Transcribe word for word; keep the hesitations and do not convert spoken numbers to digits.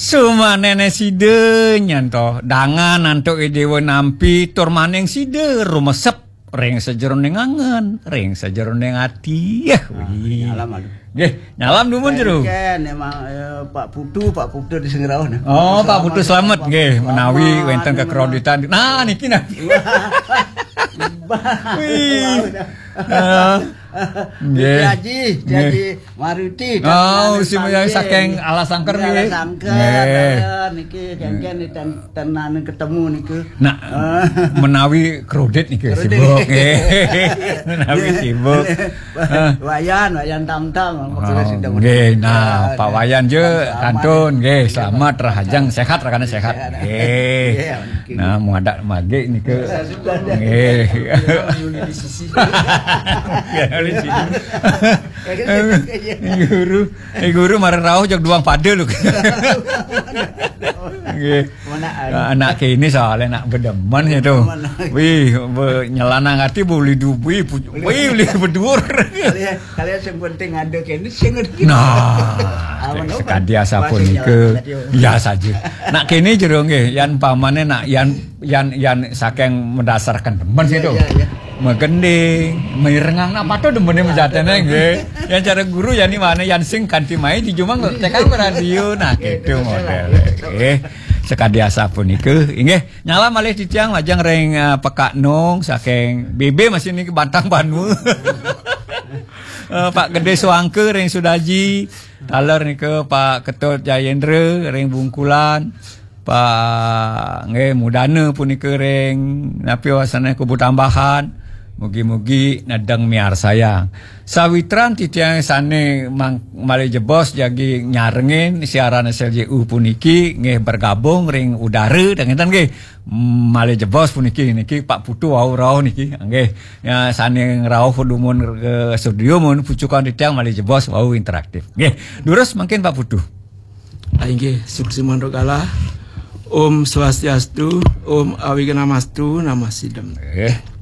Sumanene sida nyanto dangan antuk Ida Dewa nampi tur maning sida rumesep ring sajeroning angen, ring sajeroning ati. Yah, wih. Nyalam, aduh. Nggih, nyalam dumun jero. Ken, emang, eh, Pak Putu, Pak Putu di Sengrauh, nah. Oh, Pak Putu Selamat, nggih, menawi wenten kekreditan. Nah, niki nah. Wih. Ah, nggih. Haji, Haji Maruti, oh, si saking Alas Sangker, nggih. Alas Sangker, nggih. Niki, kengken di ten-, tenan ketemu niku. Nah, menawi kredit niki sibuk, nggih. Menawi sibuk. Wayan, Wayan Tamtam, oh, nggih, nah, Pak Wayan je kantun, nggih, selamat, rahajeng, sehat, rakane sehat. Nggih. Nah, muadak magi niku. Nggih. Guru, eh, guru marang rauh jog duang pada lho. Nggih. Anak kene soalnya nak bedemen itu. Wih, be-, nyelanang ati boleh dubi, wih, boleh bedur. Kalian, kalian yang penting ada kene sing ngerti. Nah, sekadi asapunika. Ya saja. Nak kene jero nggih, yan pamane nak yan, yan, yan saking mendasarkan demen situ. Iya, iya. Megending, mirengang, nak patut demene mejatene nggih. Yan cara guru yani mana yan sing kanti mai di jumang tekang radio. Nah, gitu model. Nggih. Sekadi asapunika. Inggih, nyalam malih titiang majeng ring, eh, Pekak Nung saking B B masih niki Batang Banua. Eh, Pak Gede Suangke ring Sudaji, taler nika Pak Ketut Jayendra ring Bungkulan, Pak nggih Mudana punika ring napi wasane Kubu Tambahan. Mugi-mugi nedeng miarsayang. Sawitran titiang sane mang-, malih jebos jagi nyarengin siaran S L J U puniki nggih bergabung ring udara, ngeten nggih. Malih jebos puniki niki Pak Putu wau rauh niki nggih. Ya, sane ngrauh dumun ke studio mun pucukan titiang malih jebos wau interaktif. Nggih, durus mangkin Pak Putu. Ah, inggih, suksma mantuk kalah. Om Swastiastu, Om Awignamastu, Namah Sidam. Nggih.